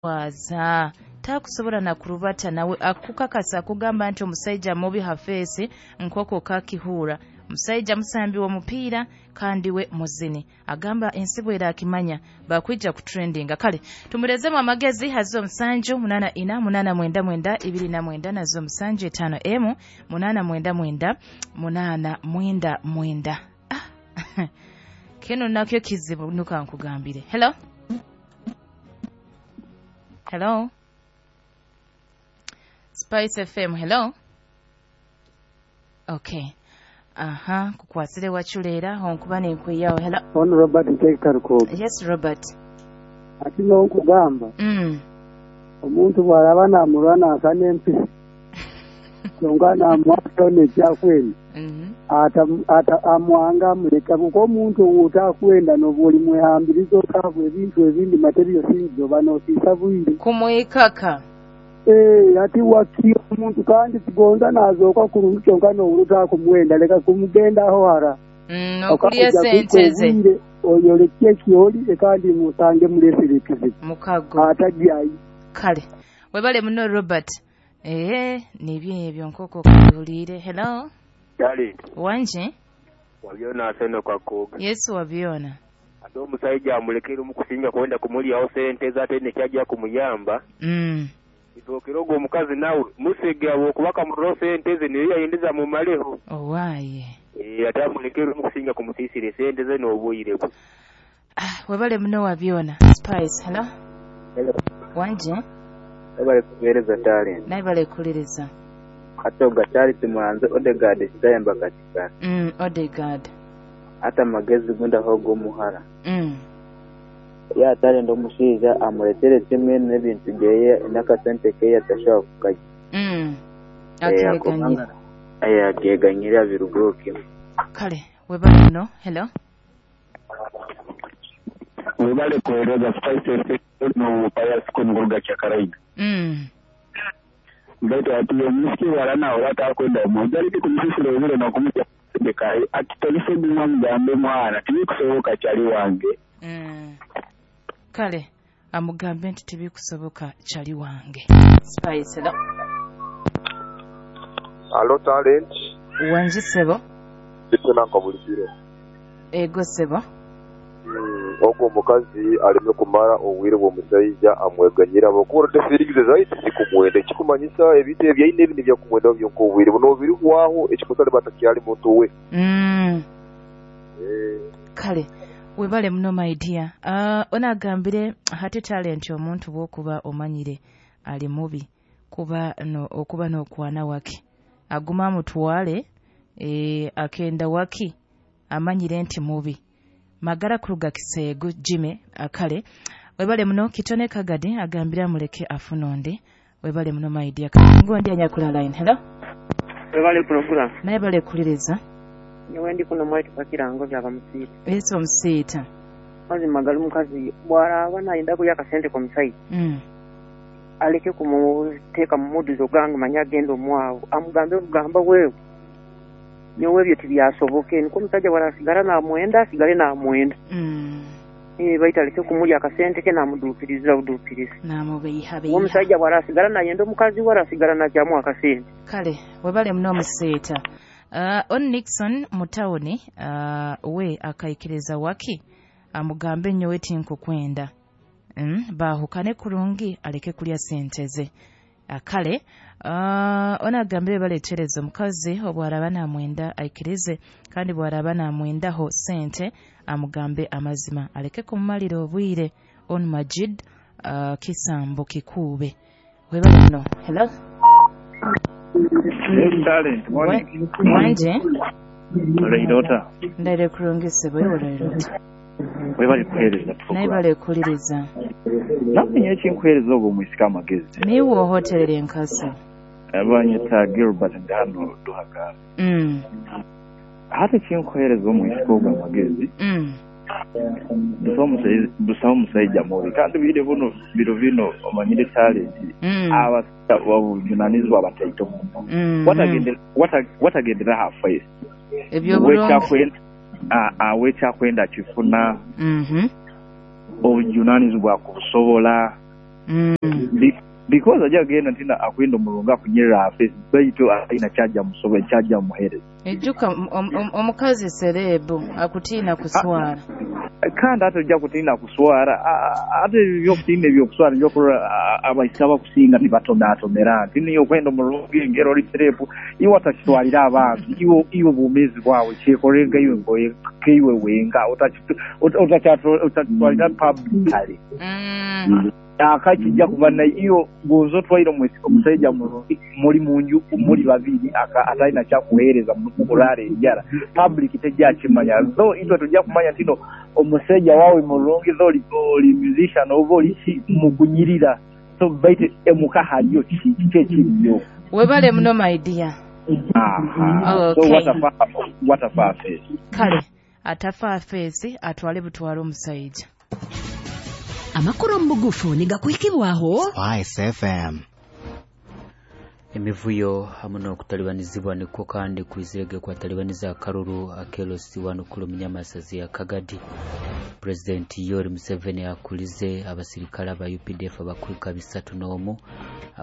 Waza takusobola na kurubata nawe akukakasa kugamba nti omusajja mubi hafeesi nkoko kakihura omusajja musambi w'omupiira kandi we muzini agamba ensi bwerakimanya bakwija kutrendinga. Kale tumurezemu amagezi hazo 7 8 4 8 9 29 nazo 7 5 m 8 9 9 8 9. Kino nakyo kizibu nuka nkugambire. Hello. Hello. Spice FM, hello. Okay. Aha, kukwasire wachulera honkuba nenkuyawo. Hello. On Robert Nteekaruko. Yes, Robert. Ati n'okugamba. Omuntu bw'alaba namulwana asa n'empisi. Kyonka namuwasa n'ekyakwenda. Ata amwanga amuleka kuko omuntu otakwenda n'obuli mwehambiriza okabwe ebintu ebindi material things oba n'osiisa bwire. Kumwikaka. Ati waki omuntu kandi tugonza nazooka kurungi kyonka n'owuluta kumwenda leka kumugendaho hara. Okulya sente ze. Oyoleke kyoli kandi musange mulesere ekizibu. Mukago. Atajyayo. Kale. Webale muno Robert. Nibyo ebyo nkoko kubuliire. Hello. Dali. Wanje? Wabyona aseno kwa koga. Yesu wabyona. Ate omusajja amulekere omukusinga kwenda kumulyaho sente ze ate nekyajja kumuyamba. Itokero ogwo omukazi nawe musege abo okubaka mu sente ze niyo yayindiza mu maleho. Owaye. Ate amulekere omukusinga kumusisire sente ze n'obuyire bwe. Webale muno wabyona. Spice, hello. Hello. Wanje? Webale kuweereza talent. Naye bale kuliriza. Katoga Charles Muhanzi Odegaard kitayamba katika. Odegaard. Ata magezi gunda hogo muhara. Ya talent omushiija amuletere kimwe n'ebintu byeye n'akasente ke yatashobora kukaja. Akeganyira. Akeganyira birugoke. Kale webale muno. Hello. Webale kuweereza Spice FM no payasiko nguruga kyakaraida. Mbeto ati omusiki walana olata kwenda omujali kumusisira obule n'okumutya kai atitolise bimwa mugambe mwana tibikusoboka kyali wange. Kale amugambe nti tibikusoboka kyali wange. Spice, hello. Hello talent. Wanji sebo. Bitona nkabulikire. Ego sebo. Ogwo omukazi aleme kumara obwire bw'omusajja amweganyira bakora tefirigize zaiti zikumwenda ekikumanyisa ebintu ebyaine ebindi byakumwenda byonka obwire buno birihwaho ekikosale batakyali muntu we. Kale webale muno my dear. Onagambire hati talent omuntu bwokuba omanyire ali mubi kuba no okuba n'okwana wake aguma amutwale akenda waki amanyire nti mubi. Magara kuruga kiseegu Jimmy akale webale muno kitone kagadi agambira muleke afunonde webale muno my dear. Ngondi anyakula line. Hello. Webale program. Naye bale kuliriza. Nyewe ndi kuno mwaitu pakirango byaba musiita. Yesu musiita. Mazima gali mukazi bw'araba nayenda kulya akasente ku musajja. Aleke kumuteeka mu muduzo gange manya agenda omwawo amugambe kugamba wewe. Nyowe ebyo tibyasoboke niko omusajja bw'arasigala namwenda asigale namwenda. Baita aleke kumulya akasente ke namuduukiriza buduukiriza. Namubeyihabeyiha. Omusajja bw'arasigala nayenda omukazi we arasigala najjamu akasente. Kale webale muno omusiita. On Nixon mutawuni we akaikiriza waki amugambe nyowe tinkukwenda. Baahukane kurungi aleke kulya sente ze. Kale onagambire baletereza omukazi obwaraba namwenda aikirize kandi bwaraba namwendaho sente amugambe amazima aleke kumumalira obwire. On Majid kisambo kikuube. Webale muno. Hello. Talent, morning. Wanje? Olairota. Ndaire kurungi sebo olairota. Webale kuheereza. Naye bale kuliriza. Namenya ekinkuheereza ogwo omwisika amagezi. Niwe ohoterera enkasi. Abanyeta Gilbert Ndano Duhagara. Hata ekinkuheereza omwisika ogwo amagezi. Busaho omusajja mubi kandi bire buno biro bino omanyire talent. Abasajja babuvunanyizibwa bataito muno. Watagendera halfway. Ebyobulungi. Wekyakwenda kifuna. Obuvunanyizibwa kubusobola. Because ajja kugenda ntina akwenda omulungi akunyirira afesi baitu alina kyajja musobe kyajja muhereza. Ejjuka omukazi serebu akutiina kuswara. Kandi ate ojja kutiina kuswara, ate ebyokutiina ebyokuswara ebyokurora abaisika bakusinga nibatomeratomera nti niyo okwenda omulungi engero oli serebu iwe atakitwalira abantu iwe obwomeezi bwawe kyekorenga iwe keiwe wenga otakitwalira publicly. Akakijja kuba na iyo gonzo otwaire omusajja mulungi muri munju muri babiri atalina kyakuheereza mukurara enjara public tejja kimanya though itwe tujja kumanya ntino omusajja wawe mulungi though oli musician oba oli mukunyirira so baite emuka haliyo kiki ekiriyo. Webale muno my dear. Aha. Okay. So what a face. Kale atafa face atwale butwale omusajja. Amakuru mbugufu nigakuhikibwaho Spice FM. Emivuyo hamwe n'okutalibanizibwa nikwo kandi kwizirege kwatalibaniza akaruru akelosi wanukulu munyamasazi ya Kagadi. President Yoweri Museveni akulize abasirikale aba UPDF abakwika 31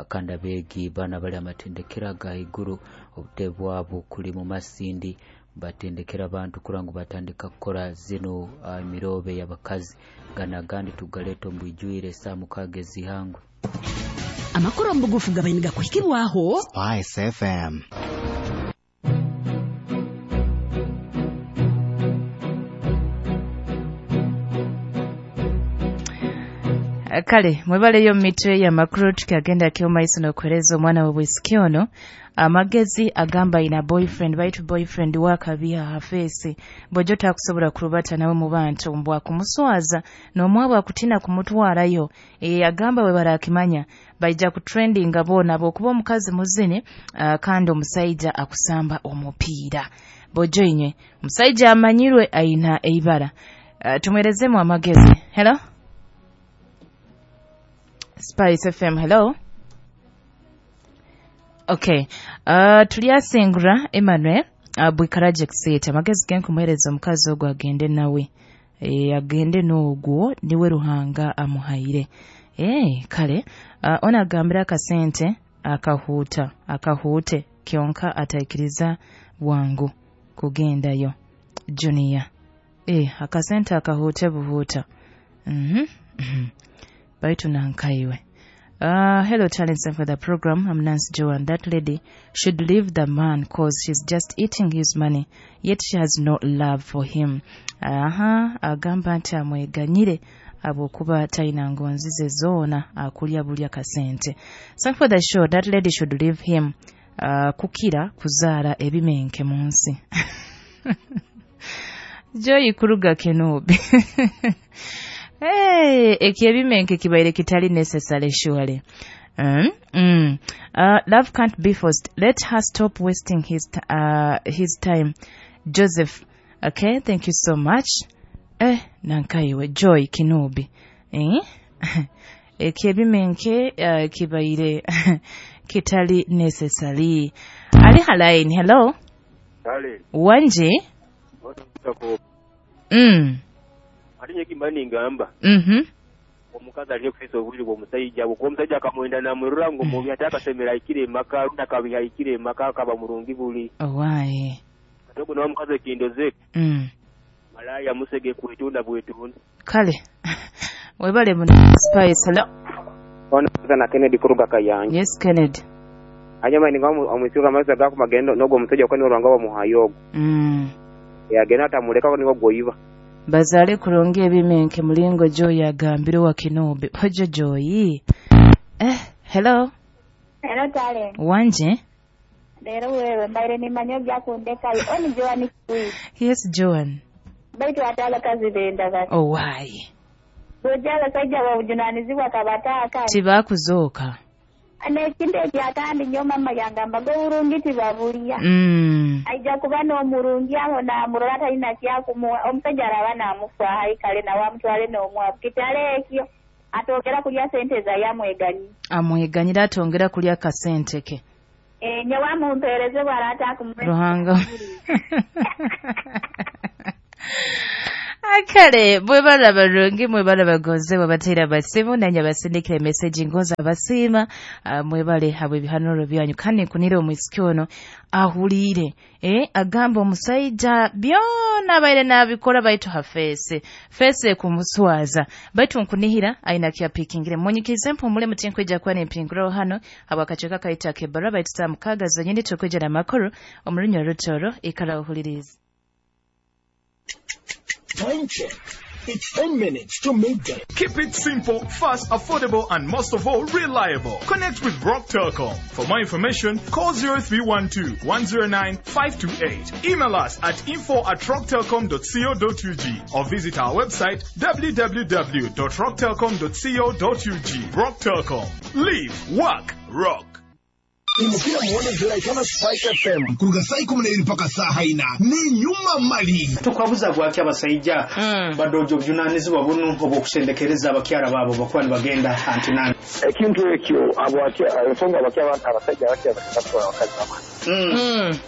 kandi abeegi bana bali amatendekera ga iguru obutebe bwabo kuli mu Masindi batendekera abantu kurangu batandika kukora zino emirobe y'abakazi gana gandi tugaleta mbwijwire saa mukage zihangwe. Amakuru mbugufu gabainiga kuhikibwaho Spice FM. Kale mwebaleyo mitwe ya makuru tukagenda kyomaiso n'okuhereza omwana we bwisiki ono amagezi agamba ina boyfriend baitu boyfriend wakabiha hafesi bojo takusobola kurubata nawe mu bantu mbwa kumuswaza n'omwabo akutina kumutwarayo agamba we barakimanya baija ku trending bona bokuba omukazi muzini kandi omusajja akusamba omupiira bojo inywe omusajja amanyirwe aina eibara tumwerezemu amagezi. Hello Spice FM, hello. Okay. Tulyasingura Emmanuel Bwikaraje kusita amagezi gen kumuhereza omukazi ogwo agende nawe agende n'ogwo niwe Ruhanga amuhaire. Kale ona agambira akasente akahuta akahuute kyonka ataikiriza bwangu kugendayo junior. Akasente akahuute buhuta. Baitu nankaiwe. Hello talents for the program. I'm Nancy Joan. That lady should leave the man cause she's just eating his money, yet she has no love for him. Agamba nti amweganyire abokuba talina ngonzi ze zoona akulya bulya kasente. So for the show, that lady should leave him. Kukira kuzaara ebimenke mu nsi. Joy kuruga Kenobi. Hey, ekibimenke kibaire kitali necessary surely. Love can't be forced. Let her stop wasting his time. Joseph. Okay, thank you so much. Nankaiwe Joy Kinobi. Ekibimenke kibaire kitali necessary. Ali halaini. Hello. Kale. Wanje. Atinye kimani ngamba. Omukazi alye kufisa obuliri bw'omusajja bwo omusajja akamwenda namurura ngo mubi ataka semera ikire maka runda kabiha ikire maka akaba murungi buli. Owaye. Atoko no omukazi ekindoze. Malaya musege kwetunda bwetunda. Kale. Webale muno Spice. Hello. Ona na Kennedy kuruga Kayanja. Yes Kennedy. Anyama ninga omwisuka amasa gako magendo nogo omusajja kwani orwanga wa muhayogo. Yagenda atamuleka niwo goyiba. Bazale kulonge ebimenke mulingo Joy agambire wa Kinobe. Hojo Joy. Hello. Hello darling. Wanje. Lero wewe mbaire ni manyo byakundeka oni Joan kui. Yes Joan. Baitu atala kazi benda bati. Oh why? Bojala sajja wabujunanizibwa kabataka. Tibakuzooka. Nekindi ekyakandi nnyo mama yangamba gwe tibabulya. Aija kuba n'omurungi aho n'amurora talina kyakumuwa omusajja araba n'amufaayo kale nawe amutwale n'omwavu kitale ekyo atongera kulya sente za yamweganyi. Amweganyira atongera kulya kasente ke. Nyowe amumpeereze bw'araata akumuwe. Ruhanga. Akale mwebala barungi, mwebala bagonze babateera abasimu nanye abasindikira emeseji ngonza abasiima. Mwebale habwe ebihanuro byanyu kandi nkunire omwisiki ono ahuliire agamba omusaija byona abaire nabikora baitu hafeese feese kumuswaza baitu nkunihira aina kyapikingire munyikirize mpumule mutinkwija kuba nempinguraho hano habwakacweka kaita kebara baitu saa 6 zenyini tukwija n'amakuru omurunya rutoro ikara uhulirize. Time check. It's 10 minutes to midday. Keep it simple, fast, affordable, and most of all, reliable. Connect with Rock Telcom. For more information, call 0312 109 528. Email us at info@rocktelcom.co.ug or visit our website www.rocktelcom.co.ug. Rock Telcom. Live, work, rock. Imukira muone ziraitana Spike FM kuruga saa 12 mpaka saa 4 ni nyuma mali tukwabuza gwaki abasaija badojo bujunanizibwa bunu obwokusendekereza abakyara babo bakuba nibagenda antinani ekintu ekyo abwaki ensonga abasajja bakya abakazi baba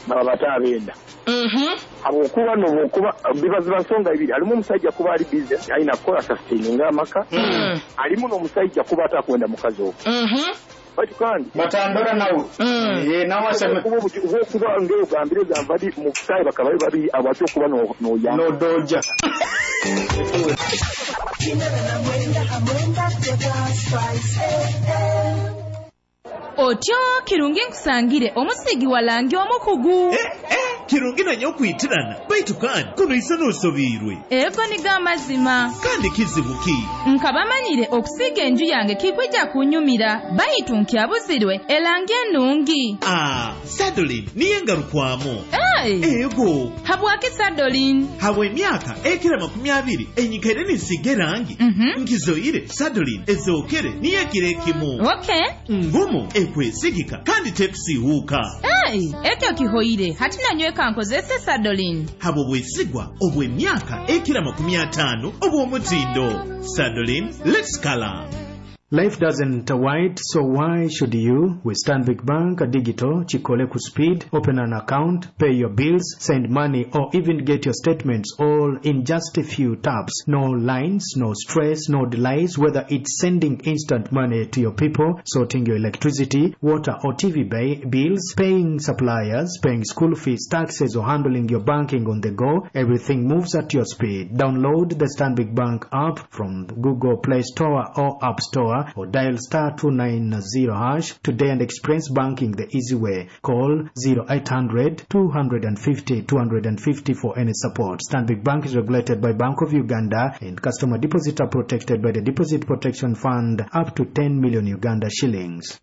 baba batabenda habwokuba nobwokuba bibaziba nsonga ibiri alimu omusajja kuba ali busy alina kukola sustaining amaka alimu n'omusajja kuba atakwenda mukazi ogwo bati kandi batandora nawe nawe aseme kuba ngeo gambire gambadi mukai bakaba babi abacho kuba no ya no doja Otyo kirungi nkusangire omusigi walangi omukugu. Kirungi nanye okwitirana baitu kandi kuno isa n'osobiirwe. Ego niga amazima. Kandi kizibu ki? Nkabamanyire okusiga enju yange kikwija kunyumira baitu nkyabuzirwe elangi ennungi. Sadolin niye ngarukwamu. Hey. Ego. Habwaki Sadolin? Habwa emyaka ekira 20 enyikaire ninsiga erangi. Nkizoire Sadolin ezookere niyo ekiro ekimu. Okay. Ngumu ekwesigika kandi tekusiihuuka. Hey, ekyo kihoire hati nanyweka nkozese Sadolin. Habwo bwesigwa obw'emyaka ekira 50 obw'omutindo. Sadolin, let's color. Life doesn't wait, so why should you? With Stanbic Bank Digital, Chikole Speed, open an account, pay your bills, send money, or even get your statements all in just a few taps. No lines, no stress, no delays, whether it's sending instant money to your people, sorting your electricity, water or TV bills, paying suppliers, paying school fees, taxes, or handling your banking on the go, everything moves at your speed. Download the Stanbic Bank app from Google Play Store or App Store or dial *290# today and experience banking the easy way. Call 0800 250 250 for any support. Stanbic Bank is regulated by Bank of Uganda and customer deposits are protected by the Deposit Protection Fund up to 10 million Uganda shillings.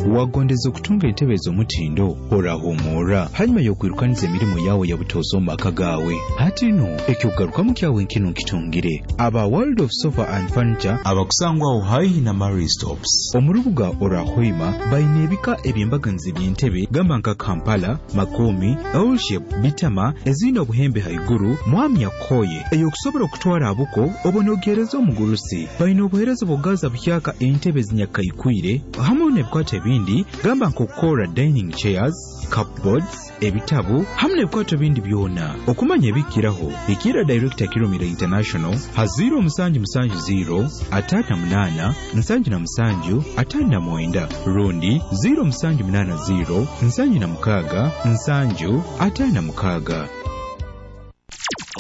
Wagondeza okutunga entebe ez'omutindo orahumura hanyuma y'okwirukaniza emirimu yawe ya butozo mu maka gawe hati no ekyokugarukamu kyawe nkino nkitungire aba World of Sofa and Furniture abakusangwaho haihi na Marie Stops omu rubuga orahwima baine ebika eby'embaganiza eby'entebe gamba nka Kampala, Makomi, L-shape, Bitama ezine obuhembe haiguru mwami yakoye eyokusobola okutwara abuko obonogereza omugurusi baine obuhereza bw'okugaza buhyaka entebe zinyakaikwire hamwe n'ebikwato ebindi gamba nk'okukora dining chairs, cupboards, ebitabu hamwe n'ebikwato bindi byona. Okumanya ebikiraho ikira Director Kirumira International ha 0770 58 77 59 rundi 0780 76 7 56.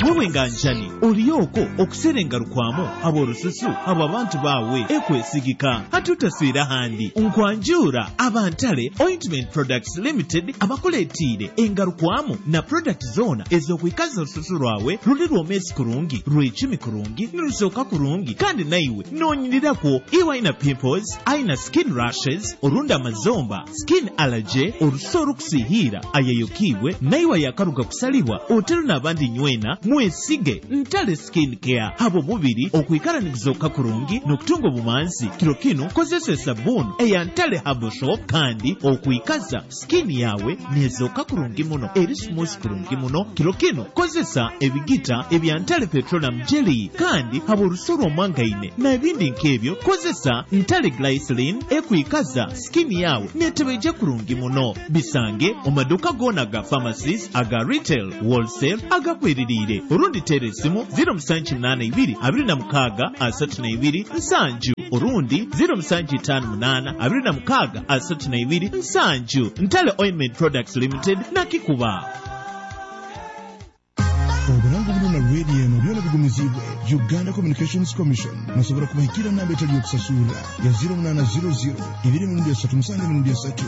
Wewe nganjani oliyoko okuserenga rukwamo aborususu abo abantu bawe ekwesigika hatutaswira handi nkwanjura abantale Ointment Products Limited abakuleetiire engarukwamo na product zona ez'okwikaza orususu rwawe ruli rwomesi kurungi rwecumi kurungi nirusooka kurungi kandi naiwe noonyinirakwo iwe aina pimples aina skin rashes orundi amazomba skin allergy orusu orukusihiira ayayokiibwe naiwe ayakaruga kusalibwa otero n'abandi nywena Mwesige Ntale Skin Care habw'omubiri okwikara niguzooka kurungi n'okutunga obumanzi. Kiro kinu kozesa esabbuuni eya Ntale Herbal Soap kandi okwikaza skin yawe nezooka kurungi muno, eri smooth kurungi muno. Kiro kinu kozesa ebigita ebya Ntale Petroleum Jelly kandi habw'orusu rw'omwangaine n'ebindi nk'ebyo kozesa Ntale Glycerin ekwikaza skin yawe netebeija kurungi muno. Bisange omu maduuka goona aga pharmacies, aga retail, wholesale, agakweririire. Orundi teera esimu 0782 26 32 7, orundi 0758 26 32 7. Ntale Ointment Products Limited nakikuba. Oburango buno na radio eno byona bigumiziibwe Uganda Communications Commission. Nosobora kubahikira namba etali yokusasura ya 0800 2 3 7 3.